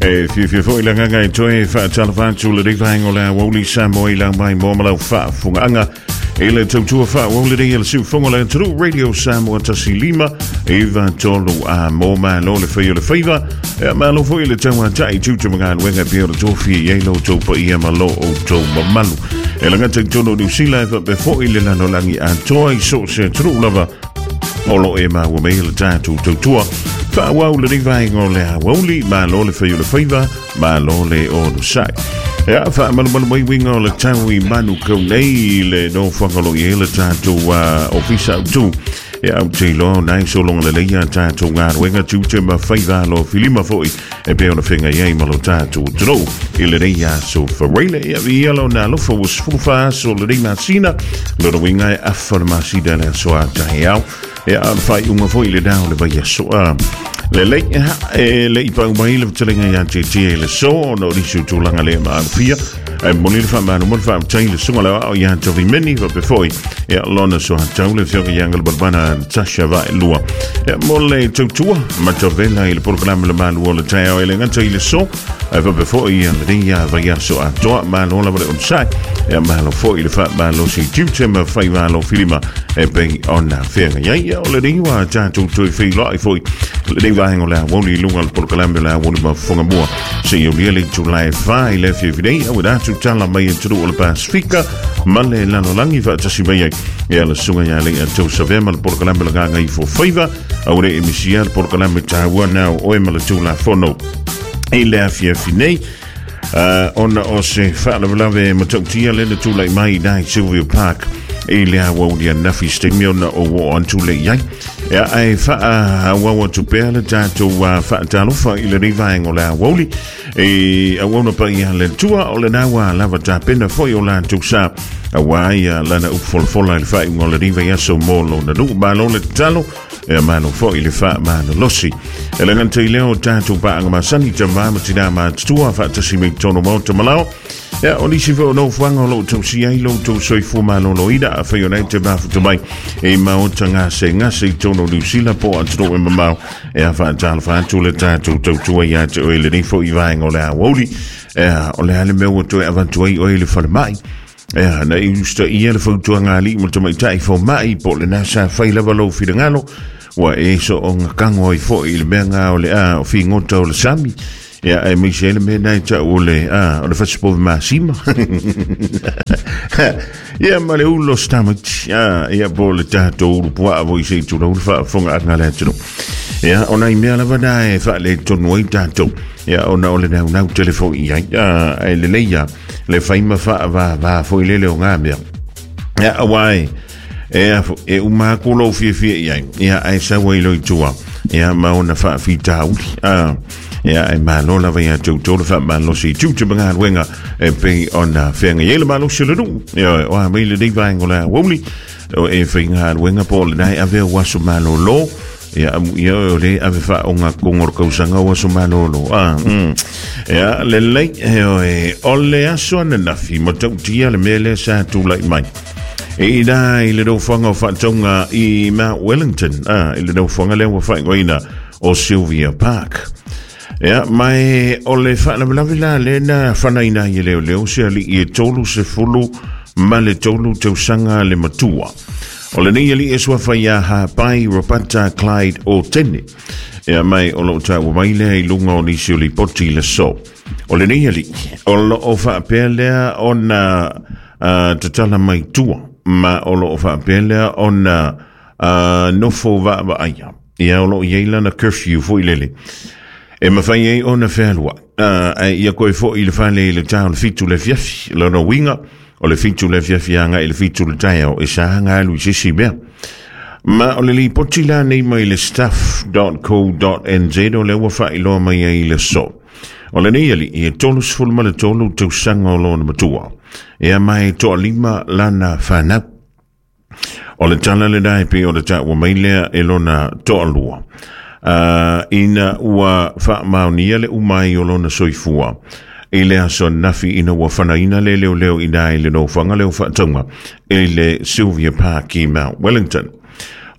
E fiafia foi le agaga e toe faatalofa atu lenei vaega o le aoauli Samoa i lau mai moa ma lau faafofogaaga i le tautua faaauau lenei a le siufofoga o le atunuu Radio Samoa 1 5 9 3 a mo malo le fai o le faiva. E malo foi le tauatai tiute ma galuega e pei ona tofia i ai lo outou paia ma lo outou mamalu. E lagata i totonu o Niu Sila e faapea foi le lalolagi atoa i so o se atunuu lava o lo o e maua mai le tatou tautua faaauau lenei vaega o le aoauli. Malo le fai o le faiva, malo le onosai. Ia, faamalumalu mai uiga o le tau i Manukau nei i le nofoaga o lo o i ai le tatou ofisa autu. Ia, ou te iloa o nai sologa lelei a tatou galuega tiute ma faiva alo filima foi e pei ona feagai ai ma lo tatou atunuu i lenei aso Faraile. Ia, viia lona alofa ua 14 aso o lenei masina, lona uiga e afa le masina le aso a taeao. Ia, a o le faaiuga foi lena o le vaiaso. Lelei, e le i pau mai le fetalaiga ia Tietie i le so ona o nisi o tulaga le maalofia. Ae momoli le faamalo ma le faafetai i le susuga le aoao ia Tovi Meni faapea foi ia lona soatau le afioga ia Galumalemana Natasha Vaelua. Ia, mo le tautua matavela i le polokalame le malu o le taeao e le gata i le so ae faapea foi ia lenei ia vaiaso atoa. Malo lava le onosai. Ia, malo foi le faamalosi i tiute ma faiva alofilima e pei ona feagai ai. Ia, o lenei ua tatou toe feiloai foi lenei vaega o le aoauli i luga o le polokalame o le aoauli ma fofoga mua seia aulia le itula e 4 i le afiafi nei auina atu tala mai atunuu o le Pasifika ma le lalolagi faatasi mai ai ia le susuga ia Lei'a Tausavea ma le polokalame o le Gagaifo Faiva aua ne i misia le polokalame taua na o oe ma le Tulafono i le afiafi nei. Ona o se faalavelave matautia lea na tulai mai i i Sylvia Park i le aoauli ananafi se taimi ona ou oo atu lea i ai. Ia, ae faaauau atu pea le tatou faatalofa i lenei vaega o le aoauli i auauna paia a le Atua o lena ua lava tapena foi o latou sa aua ia lana upu folafola i le faaiuga o lenei vaiaso mo lona nuu. Malo le tatalo, e malo foi le faamalolosi. E le gata i lea o tatou paaga masani, tamā ma tinā matutua faatasi mai totonu o maota ma lao. Ia, o nisi foi o nofoaga o lo o tausia ai lo outou soifua maloloina afai o lena e te mafuta mai i maota gasegase i totonu o Niu Sila po o atunuu e mamao. E a faatalofa atu le tatou tautua ia te oe i lenei foi vaega o le aoauli. Ea, o le a le mea ua toe avatu ai oe i le falemai? Ea, na i usitaia le fautuaga a alii ma tamaitai fomai po o lena sa fai lava lou finagalo, ua e soonga kago ai foi i le mea nga o le a o figota o le sami. Ia, aemaise ai le mea na e tau o le, a, o le fasipovi masima. Ia, ma le ulo stomach, a, ia, po o le tatou ulu puaa foi se i tulou le faafofogaaga a le atunuu. Ia, o nai mea lava na e faaletonu ai tatou. Ia, ona o le naunau tele foi i ai. A, ae lelei lava le fai ma faavavā foi lele o ngā mea. Ia, auā e, e, e uma atu lou fiafia i ai, ia, ae sau ai loa i tua, ia, ma ona faafitauli. A, ia, ae malo lava ia te outou le faamalosi i tiute ma galuega e pei ona feagai ai le malosi o le nuu. Ia, o a mai lenei vaega o le aoauli, o e faigaluega po o lena e ave au aso malolo, Ia, amuia oe o lea e ave faaogatotonu o le tausaga o aso malolo. Ah. Ia, lelei, e oe, o le aso ananafi, matautia le mea lea sa tulai mai. E ina i le nofoaga o faatauga i Mount Wellington, ah, i le nofoaga lea ua faaigoaina o Sylvia Park. Ia, ma e o le faalavelave la lea na fanaina ai e leoleo se alii e 33 tausaga le matua. O lenei alii e suafa ia Hapai Ropata Clyde Otene. Ea mai o lo o taua mai lea i luga o nisi o lipoti i le so. O lenei alii, o lo o faapea lea ona tatala mai tua, ma o lo o faapea lea ona nofo vaavaaia. Ia o lo o i ai lana curfew foi lele. E mafai ai ona fealuai, ae ia toe foi i le fale i le ta o le 7 le afiafi. Lona uiga, o le 7 le afiafi agai i le 7 le taeao, e sa ona alu i se isi mea. Ma o le lipoti la nei mai le stuff.co.nz o lea ua faailoa mai ai i le aso. O lenei alii e 33 tausaga o lona matua. Ea ma e toalima lana fanau. O le tala lena e pei ona taua mai lea e lona toalua. Ina ua faamaonia le uma ai o lona soifua i le aso ananafi ina ua fanaina le leoleo i ina i le nofoaga lea o faatauga i le Sylvia Park i Mount Wellington.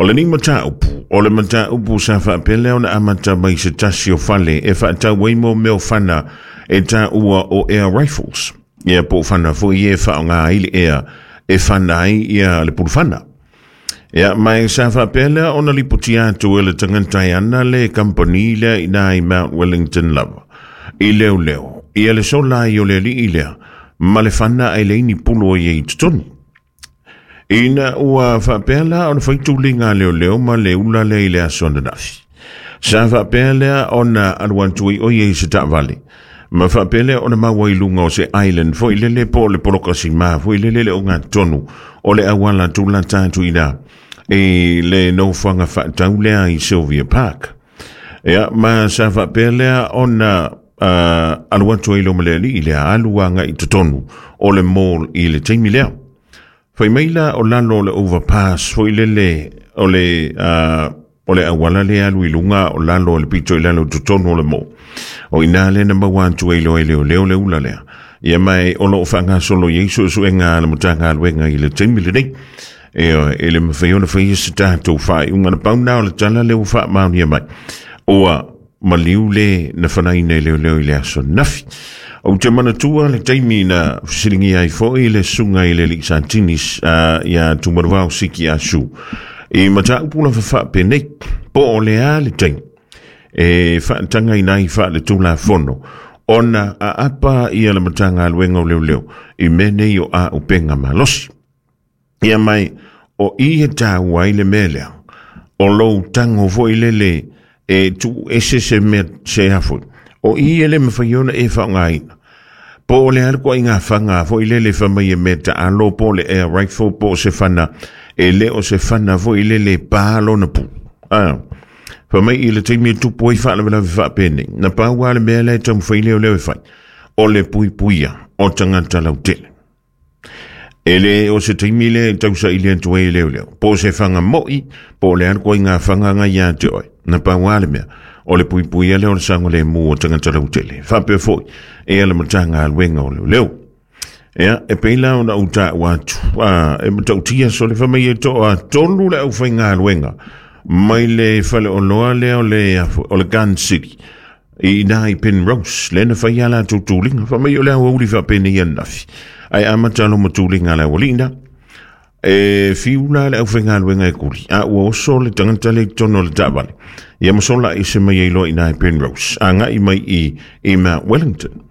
O lenei mataupu, o le mataupu sa faapea lea ona amata mai se tasi o fale e faatau ai mo mea o fana e taua o air rifles. Ia po o fana foi e faaaoga ai le ea e fana ai ia le pulufana. Ia, ma e sa faapea lea ona lipotia atu e le tagata e ana le kamupani lea i ina i Mount Wellington lava, i leoleo, ia le sola ai o le alii lea ma le fana ae leai ni pulu o i ai i totonu. Ina ua faapea la ona fai tuliga a leoleo ma le ula lea i le aso ananafi. Sa faapea lea ona alu atu ai o ia i se taavale, ma faapea lea ona maua i luga o se island foi lele po o le poloka sima foi lele le ogatotonu o le auala tulata atu i ina i le nofoaga faatau lea i Sylvia Park. Ia, ma sa faapea lea ona alu atu ai loa ma le alii lea, alu agai i totonu o le mall i le taimi lea. Fai mai la o lalo o le overpass foi lele o le o le auala lea alu i luga o lalo o le pito i lalo i totonu o le mall. O i ina lea na maua atu ai loa e leoleo le ula lea. Ia ma e o lo o faagasolo i ai suesuega a le Matagaluega i le taimi lenei. Ioe, e le mafai ona faia se tatou faaiuga. Na pau na o le tala lea ua faamaonia mai. Ua maliu le na fanaina e leoleo i le aso nafi. Ou te manatua le taimi na fesiligia ai foi le susuga i le alii Santini ia Tumanuvao Siki Asu i mataupu lava faapenei, po o le a le taimi e faatagaina ai faaletulafono ona aapa ia le Matagaluega o Leoleo i mea nei o auupega malosi. Ia mai, o i e tāua ai le mea lea, o lou tago foi lele e tuu ese se mea se a foi. O i e le mawhai ona e whaongaina. Po o le a le koaiga fanga foi lele fai mai e mea taalo po o le air rifle po o se fana e le o se fana foi lele e pā lona pulu. A, fai mai i le taimi e tupu ai faalavelave faapenei, na pau lava le mea lea e taumafai leoleo e fai, o le puipuia o tagata lautele. E le o se taimi lea e tausaili atu ai e leoleo, po o se fanga mo'i, po o le a le koaiga fanga nga ia te oe. Na pau lava le mea, o le puipuia lea o le saogalemu o tagata lautele. Faapea foi, e a le Matagaluega o Leoleo. Ia, e pei la ona ou taua atu, a, e matautia sole fai mai e toatolu le aufaigaluega mai le faleoloa lea o le, o le Gun City i ina i Penrose, lea na fai a latou tuliga. Fai mai o le aoauli faapenei ananafi, ae amata loma tuliga a le aualii na. E fiu la le aufaigaluega e kuli, a ua oso le tagata lea i totonu o le taavale. Ia ma sola ese mai ai loa i ina i Penrose, agai mai i Mount Wellington.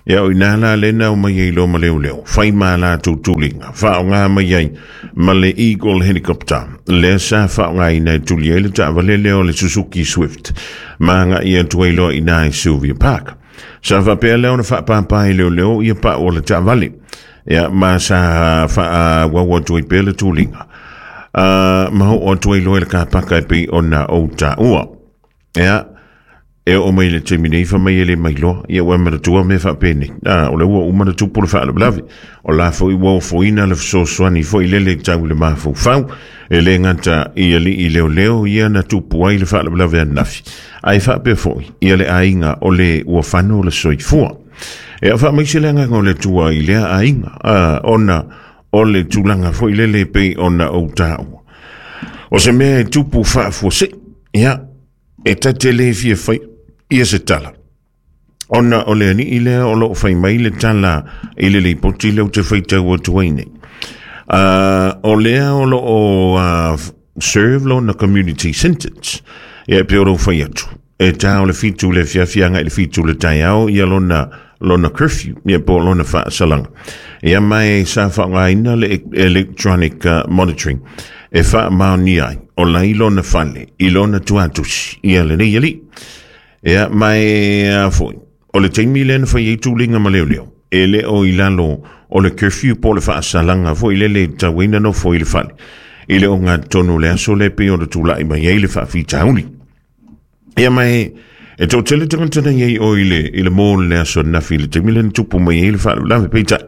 Ia o ina la lea na omai ai loa ma leoleo, fai ma latou tuliga, faaaoga mai ai ma le Eagle Helicopter, lea sa faaaogaina e tuli ai le taavale lea o le Suzuki Swift, ma agai atu ai loa i ina i Sylvia Park. Sa faapea lea ona faapāpā e leoleo ia pau o le taavale. Ia, ma sa faaauau atu ai pea le tuliga. Ma oo atu ai loa i le kapaka e pei ona ou taua. Ia, e oo mai le taimi nei, fai mai e le mailoa, ia ua e manatua mea faapenei. A, o lea ua uma ona tupu le faalavelave. O la foi ua ofoina le fesoasoani foi lele tau i le mafaufau, e le gata i alii leoleo ia na tupu ai le faalavelave ananafi, ae faapea foi ia le aiga o le ua fano le soifua. E faamaise le agaga o le Atua i lea aiga, a, ona o le tulaga foi lele e pei ona ou taua. O se mea e tupu faafuasei, ia, e ta te le fia fai ia se tala. Ona o le alii lea o lo o fai mai le tala i le lipoti lea ou te faitau atu ai nei. O lea o lo o serve lona community sentence. Ia e pei o lou fai atu. E tā o le 7 le afiafi agai i le 7 le taeao ia lona lona curfew, ia po o lona faasalaga. Ia ma e sa faaaogaina le electronic monitoring e faamaonia ai o la i lona fale i lona tuatusi ia lenei alii. Ia ma e a foi, o le taimi lea na fai ai tuliga ma leoleo, e le o i lalo o le curfew po o le faasalaga foi lele e tatau ai ona nofo i le fale i le ogatotonu o le aso lea e pei ona tulai mai ai le faafitauli. Ia ma e, e toatele tagata na i ai o i le, i le mall le aso ananafi i le taimi lea na tupu mai ai le faalavelave. Peitai,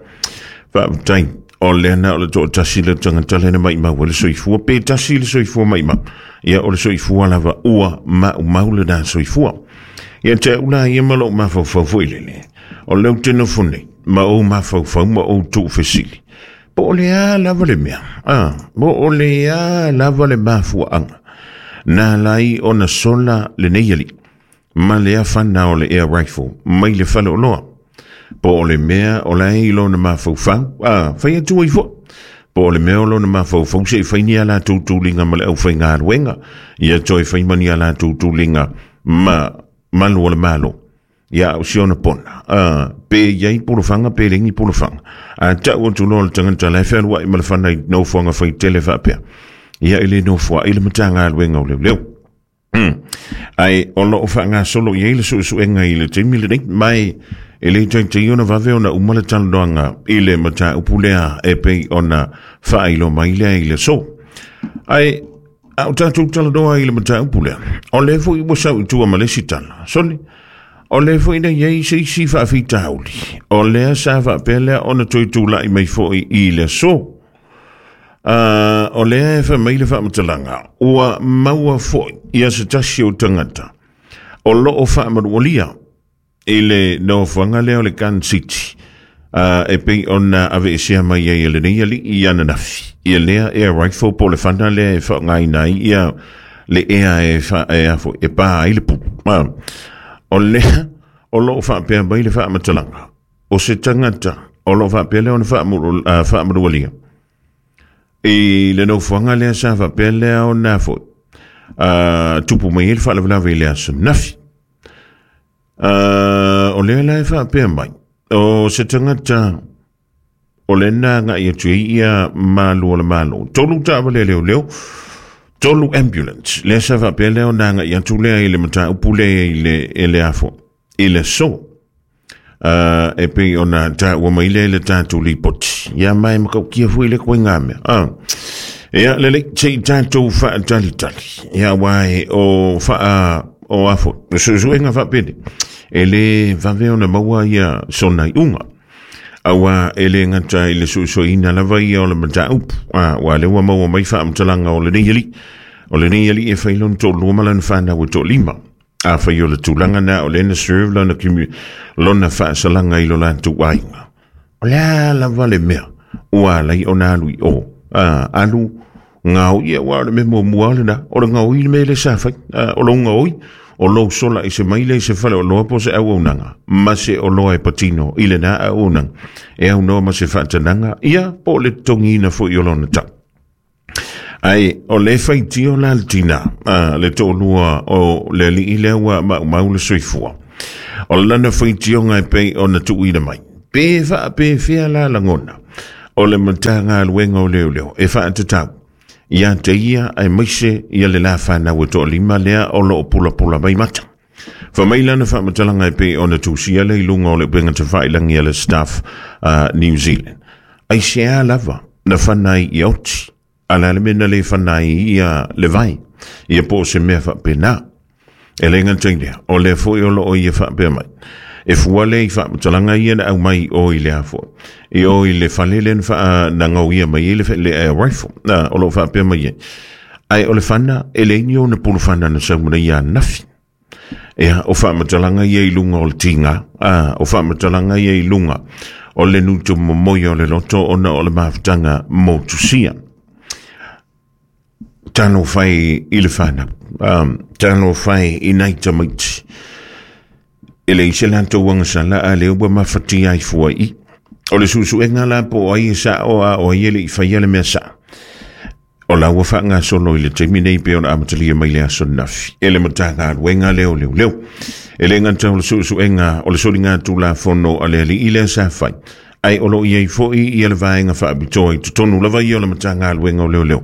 faafetai, o lea na o le toatasi le tagata lea na maimau ai le soifua, pe tasi le soifua maimau. Ia, o le soifua lava ua maumau lena soifua. Ia te au la ia ma lou mafaufau foi lele, o lea ou te nofo nei, ma ou mafaufau ma ou tuufesili. Po o le a lava le mea, a, po o le a lava le mafuaaga. Na ala ai ona sola lenei alii ma lea fana o le air rifle mai le faleoloa. Po o le mea o la e i lona mafaufau, a fai atu ai foi. Po o le mea o lona mafaufau se i fai ni a latou tuliga ma le aufaigaluega, ia toe fai ma ni a latou tuliga ma malu o le Malo. Ia, o si ona pona, a, pe i ai polofaga pe leai ni polofaga. A tau atu loa le tagata la e fealuai ma le fana i nofoaga faitele faapea, ia e le nofoai le Matagaluega o Leoleo. Ae o lo o faagasolo i ai le suesuega i le taimi lenei, ma e le taitai ona vave ona uma le talanoaga i le mataupu lea e pei ona faailoa mai lea i le aso. Ae a o tatou talanoa i le mataupu lea, o lea foi ua sau i tua ma le isi tala. Soli, o lea foi na i ai se isi faafitauli, o lea sa faapea lea ona toe tulai mai foi i le aso. O lea e fai mai le faamatalaga, ua maua foi ia se tasi o tagata o lo o faamanualia i le nofoaga lea o le Gun City, e pei ona aveesea mai ai e lenei alii i ananafi ia lea air rifle po o le fana lea e faaaogaina ai ia le ea e, fa, e, afo, e pa ai le pulu. O lea o lo o faapea mai le faamatalaga, o se tagata o lo o faapea lea ona faamanualia i le nofoaga lea sa faapea lea ona foi tupu mai ai le faalavelave i le aso nafi. O lea la e faapea mai, o se tagata o lea na agai atu ai ia malu o le Malo. 3 taavale a leoleo, 3 ambulance. Lea sa faapea lea ona agai atu lea i le mataupu lea i le, i le afo, i le aso. E pei ona taua mai lea i le tatou lipoti. Ia ma e matautia foi le koiga mea. Ia lelei, se i tatou faatalitali. Ia aua e o faa o afo, o suesuega faapene, e le vave ona maua ia sona iuga. Aua e le gata i le suesueina lava ia o le mataupu, aua lea ua maua mai faamatalaga o lenei alii. O lenei alii e fai lona toalua ma lana fanau e toalima. Afai o le tulaga na o lea na serve lona, lona faasalaga i lo latou aiga. O le a lava le mea ua ala ai ona alu i o. Alu gaoi, aua o le mea muamua lena, o le gaoi le mea lea sa fai. O lou gaoi, o lou sola i se maile i se faleoloa po o se auaunaga, ma se oloa e patino i lena auaunaga, e aunoa ma se faatanaga, ia po o le totogiina foi o lona tau. Ae o le faitio la le tina, le toalua o le alii lea ua maumau le soifua. O lana faitioga e pei ona tuuina mai. Pe faapefea la lagona o le Matagaluega o Leoleo e faatatau ia te ia aemaise ia le la fanau e toalima lea o lo o pulapula mai mata. Fai mai lana faamatalaga e pei ona tusia lea i luga o le upega tafailagi a le Stuff New Zealand. Aisea lava na fana ai ia oti, a le a le mea na le fana ai ia le vai, ia po o se mea faapena. E le gata i lea, o lea foi o lo o ia faapea mai. E fua lea i faamatalaga ia na aumai i o i le a foi, i o i le fale lea na faa, na gaoia mai ai le, le air rifle, o lo o faapea mai ai. Ae o le fana, e leai ni ona pulufana na sau mai ia ananafi. Ia, o faamatalaga ia i luga o le tiga, a, o faamatalaga ia i luga o le nutu momoi o le loto ona o le mafutaga motusia. Talofa e i le whanau, talofa e i nai tamaiti. E leai se latou agasala a lea ua mafatia ai fua i. O le suesuega la po o ai e sao a o ai e le i faia le mea sao. O la ua faagasolo i le taimi nei pei ona amatalia mai le aso ananafi e le Matagaluega lea o Leoleo. E le gata o le suesuega o le soligatulafono a le alii lea sa fai, ae o lo o i ai foi ia le vaega faapitoa i totonu lava ia o le Matagaluega o Leoleo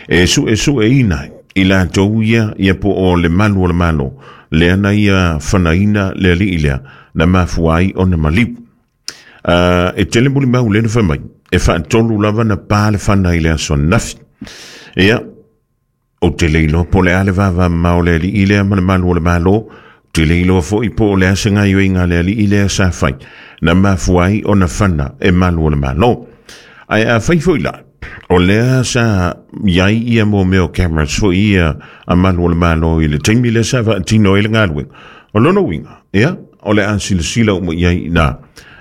e suesueina ai i latou ia ia po o le malu o le Malo lea na ia fanaina le alii lea na mafua ai ona maliu. E tele mulimau lea na fai mai, e faatolu lava na pa le fana i le aso ananafi. Ia, ou te le iloa po o le a le vavamamao o le alii lea ma le malu o le Malo, ou te le iloa foi po o le a se gaoioiga a le alii lea sa fai, na mafua ai ona fana e malu o le Malo. Ae afai foi la, o lea sa i ai ia mo mea o cameras foi ia a malu o le Malo i le taimi lea sa faatino ai le galuega, o lona uiga, ia, o le a silasila uma i ai i ina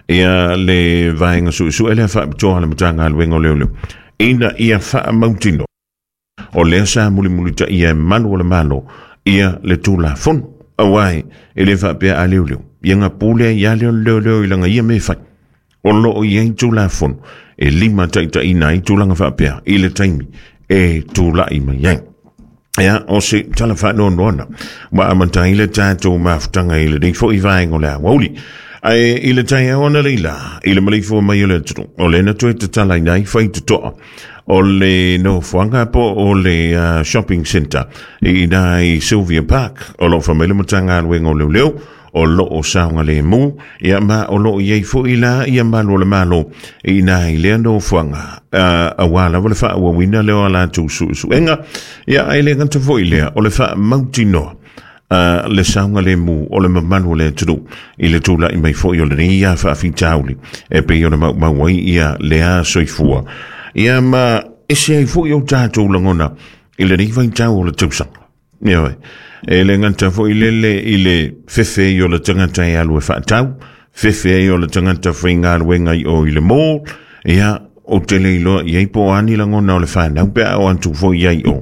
ia le vaega suesue lea faapitoa a le Matagaluega o Leoleo, ina ia faamautinoa. O lea sa mulimulitaia e malu o le Malo ia le Tulafono. Auā e le faapea a leoleo, ia na pule ai lava lea o le leoleo i lana ia mea e fai. O lo o i ai Tulafono e limataitaiina ai tulaga faapea i le taimi e tulai mai ai. Ia, o se tala faanoanoana ua amata ai le tatou mafutaga i lenei foi vaega o le aoauli. Ae i le taeao analeila, i le maleifua mai o le atunuu, o lea na toe tatalaina ai faitotoa o le nofoaga po o le shopping centre i ina i Sylvia Park. O lo o fai mai le Matagaluega o Leoleo o lo o saogalemu, ia ma o lo o i ai foi la ia malu o le Malo i ina i lea nofoaga, auā lava le faaauauina lea o a latou suesuega, ia ae le gata foi i lea, o le faamautinoa le saogalemu o le mamalu o le atunuu i le tulai mai foi o lenei ia faafitauli e pei ona maumau ai ia lea soifua. Ia ma ese ai foi o tatou lagona i lenei vaitau o le tausaga. Ioe. E le gata foi lele i le fefe ai o le tagata e alu e faatau, fefe ai o le tagata faigaluega i o i le mall, ia, ou te le iloa i ai po o a ni lagona o le fanau pe a oo atu foi i ai i o.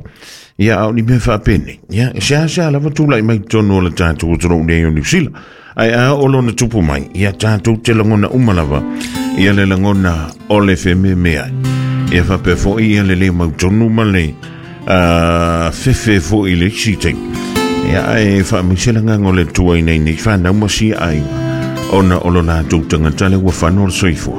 Ia, a o ni mea faapenei, ia, e seasea lava tulai mai totonu o le tatou atunuu nei o Niu Sila. Ae a oo lona tupu mai, ia tatou te lagona uma lava ia le lagona o le fememeai. Ia faapea foi ia le le mautonu ma le fefe foi i le isi taimi. Ia ae faamaise le agaga o le Atua i nei nei fanau ma sia aiga ona o lo latou tagata lea ua fano le soifua.